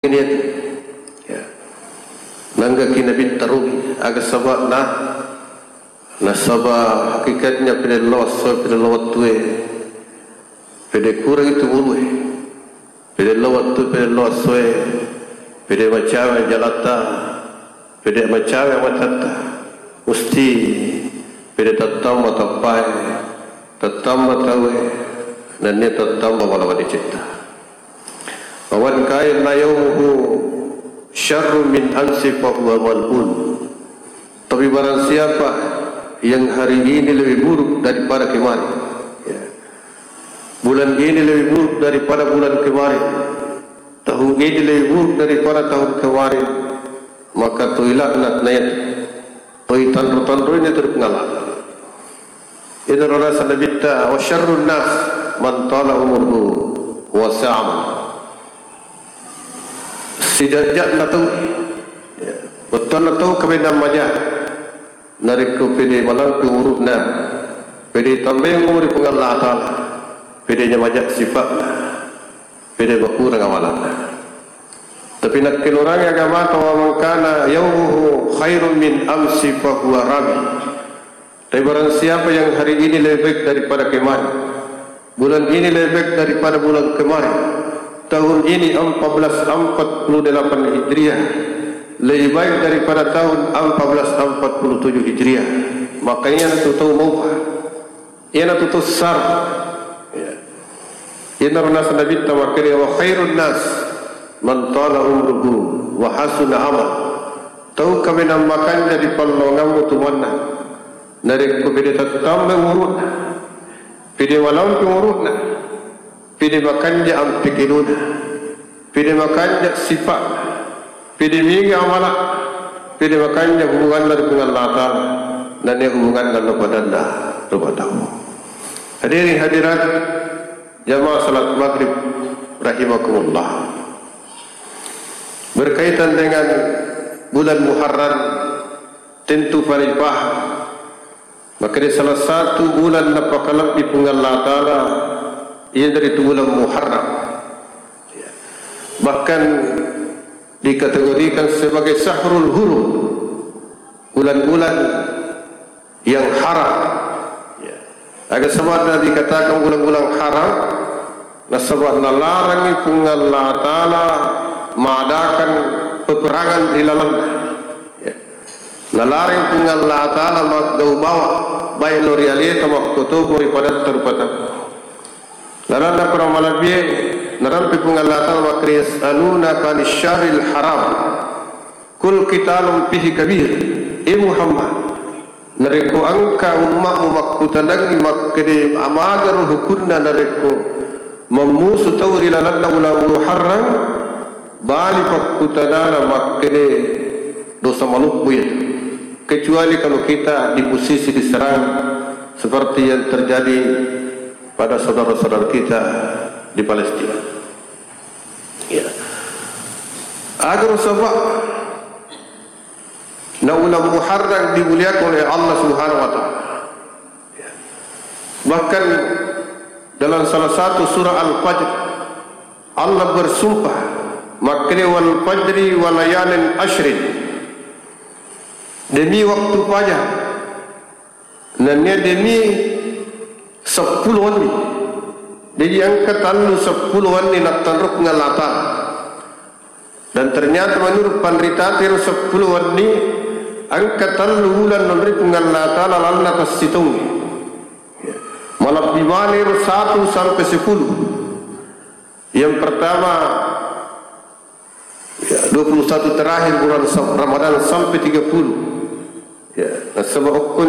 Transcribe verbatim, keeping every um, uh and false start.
Ini ya. Nanggaki Nabitta rugi, aga saba'na? Nasaba hakikatnya pede lao esso, pede lao wettue, pede kurang itu umurue, pede lao wettu, pede lao essoe, pede macawe jalatta, pede macawe matatta, musti pede tattamba tappae, tattamba taue, nennia tattamba mala madecetta. Wa man kana yaumuhu syarrun min amsi fahuwa mal'un. Tapi barang siapa yang hari ini lebih buruk daripada kemarin, ya. Bulan ini lebih buruk daripada bulan kemarin, tahun ini lebih buruk daripada tahun kemarin, maka toi laknat na yatu, toi tanro-tanroina tu ri Puang Allah. Inaro naseng Nabitta, "Wa syarrun nas man tala umruhu wa sa'a amaluhu." Sijajianna tau, ya, bettuanna tau kaminang maja, narekko pede malampe umuru'na, pede tambae umuri Puang Allah Ta'ala, pede maja sifa'na, pede makurang amalanna. Tapi nakkeluarangi agamata, "Wa man kana yaumuhu khairun min amsi fahuwa rabi." Tapi barang siapa yang hari ini lebih baik daripada kemarin, bulan ini lebih baik daripada bulan kemarin, tahun ini empat belas empat puluh delapan Hijriah, lebih baik daripada tahun empat belas empat puluh tujuh Hijriah, maka iyanatu tau maupa, iyanatu tau sar. Ya. Inaro naseng Nabitta makkeda, "Wa khairun nas man tala umruhu wa hasuna amal." Tau kaminang makanja ri pallongammu tu manna, narekko pede tattamba umuru'na, pede malampe umuru'na, pede makanja ampekeluna, pede makanja sifa'na, pede mega amala, pede makanja hubunganna ri Puang Allah Ta'ala, nennia hubunganna lo padanna rupa tau. Hadirin hadirat, jamaah salat maghrib rahimakumullah. Berkaitan dengan bulan Muharram, tentu pada paham, maka di salah satu bulan napakalebbi Puang Allah Ta'ala, iyanaritu bulan Muharram. Bahkan dikategorikan sebagai syahrul hurum, bulan-bulan yang haram. Ya. Aga saba'na dikatakan bulan-bulan haram? Nasaba nalarangi Puang Allah Ta'ala madakan peperangan ri lalenna. Ya. Nalarangi Puang Allah Ta'ala maggau bawa, baik lo ri aleta makkotopo ri padatta rupa tau. Lalenna Qur'an malebbi'e, narampe Puang Allah Ta'ala makkeda, "Yas'alunaka 'anis syahril haram." Qul qitalun fihi kabir. E Muhammad, narekko engka umma'mu makkutanangngi makkeda amagaro hukunna narekko mammusu tau ri lalenna uleng Muharram, bali pakkutanana makkeda dosa maloppo iya. Kecuali kalau kita di posisi diserang seperti yang terjadi pada saudara-saudara kita di Palestina. Ya. Agar sebab na uleng Muharram dimuliakan oleh Allah Subhanahu wa Ta'ala. Ya. Bahkan dalam salah satu surah Al-Fajr, Allah bersumpah, makkeda, "Wal fajri wa layalin asyrin." Demi waktu fajar, nennia demi seppulo wenni. Jadi engka tellu seppulo wenni nattanro Puang Allah Ta'ala. Dan ternyata menurut panritata ero seppulo wenni, engka tellu uleng naonroi Puang Allah Ta'ala lalenna tessitaungnge. Malebbi maneng ero satu sampai sepuluh. Yang pertama, ya, dua puluh satu terakhir bulan Sa-, Ramadan sampai tiga puluh. Ya, nasaba okko